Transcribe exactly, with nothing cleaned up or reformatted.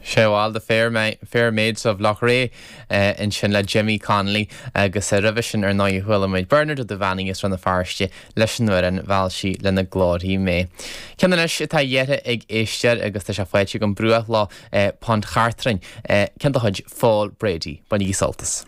Sé bhil the Fair, Fair Maids of Loughrea ansin le Jimmy Connolly agus roimhe sin ar ndóigh chuala muid Bernard Ó Duibheannaigh as Rann na Feirste leis an amhrán Mheall sí lena glórthaí mé. Ceann anois atá iarrtha ag éisteoir agus tá sé faighte agam Bruachlá Pont Chartrain ceann de chuid Phól Brady. Bainigí sult as.